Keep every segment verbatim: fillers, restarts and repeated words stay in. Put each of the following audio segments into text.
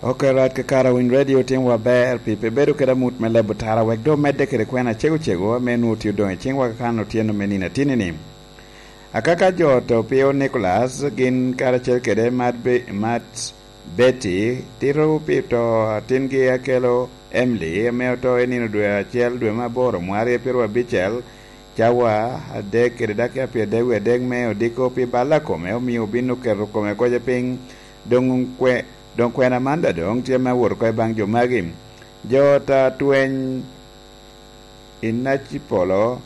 Ok, Rat Kakara Winy Radio, tim wa ber pi pe bedo kede amut me lebo tara, wek doŋ medde kede kwena cego cego ame nwoŋo tye odoŋ i ciŋwa ka kan otyeno me nino atinni-ni. Akaka jo oto Pio Nicholas, gin karacel kede Mat Be-, Mat Betty, tito pi to atingi Akelo Emily, ame oto i nino dwe acel, dwe me aboro, mwaka aryo pyeraryo abicel, cawa adek kede dakika pyeradek wie adek me odiko pi balla kome, omio obin oketo kome koca piny. Doŋ kwe-, doŋ kwena man daŋ doŋ tye me wot oko i baŋ jo magi. Jo ta tweny i Nacipolo,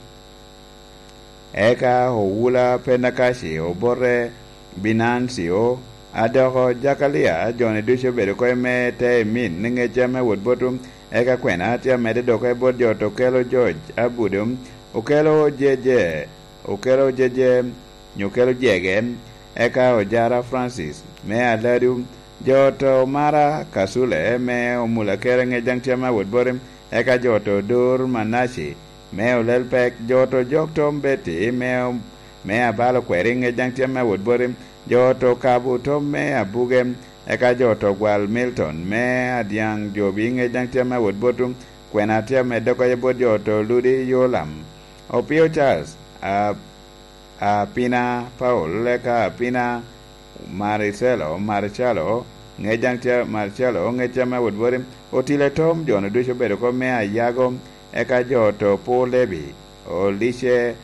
eka Owula Penakaci, obote Binancio, adoko Jakalia, joni ducu obedo oko i me te i min, ni ŋecca me wot botu, eka kwena tye amedde dok i bot jo to kelo George Abudo, okelo jeje, okelo jeje, nyo okelo jege, eka Ojara Francis, me Aladu, jo to Mara Kasule, me Omula Kere ŋec daŋ tye me wot bote, eka jo to Dur Manaci, me Olel Pek, jo to Jok Tom Betty, me, me Abalo Kweri ŋec daŋ tye me wot bote, jo to Kabu Tom me Abuge, eka jo to Gwal Milton, me Adyaŋ Jobi ŋec daŋ tye me wot botu, kwena tye amedde oko i bot jo to Ludi Yolam. Opio Charles, a, Apina Paul, eka Apina Maricelo, Marcelo, ŋec daŋ tye, Marcelo, ŋec tye me wot bote, Otile Tom, jo-nu ducu obedo oko me Ayago, eka jo to Pur Lebi, Olice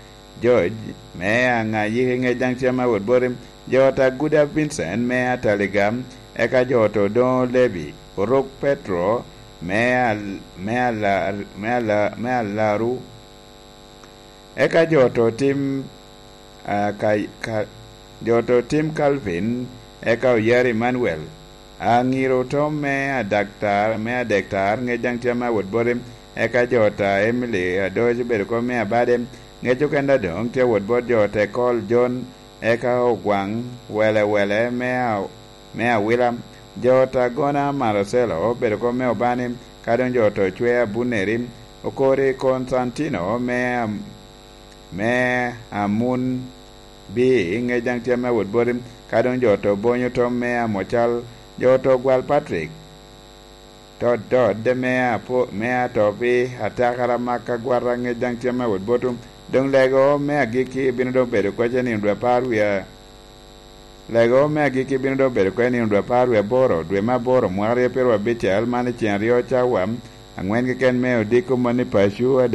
George, me Aŋayiki, ŋec daŋ tye me wot bote, jo to Aguda Vincent, me Ataliga, eka jo to Doŋo Lebi, Orok Petro, me Al-, me Ala-, me Ala-, me Alaru, eka jo to Tim, a, ka, ka, jo to Tim Calvin, eka Oyar Emmanuel, Aŋiro Tom me Adaktar, me Adektar, ŋec daŋ tye me wot bote, eka jo ta Emily Adoc obedo oko me Abade, ŋec okenda doŋ tye wot bot jo te Kol John, eka Ogwaŋ Wele Wele me A-, me Awila, jo ta Gona Marcelo obedo oko me Obani, ka doŋ jo to Cwe Abuneri, Okori Konstantino me Am-, me Amun Bi, ŋec daŋ tye me wot boti, ka doŋ jo to Bonyo Tom me Amocal, jo to Gwal Patrick, to Dod me Apo-, me Atopi, Atakara Maka Gwata, ŋec daŋ tye me wot botu. Doŋ lego me agikki bino doŋ bedo oko i nino dwe apar wie, lego me agikki bino doŋ bedo oko i nino dwe apar wie aboro, dwe me aboro, mwaka aryo pyeraryo abicel, man i ceng aryo cawa aŋwen keken me odiko moni paco adek.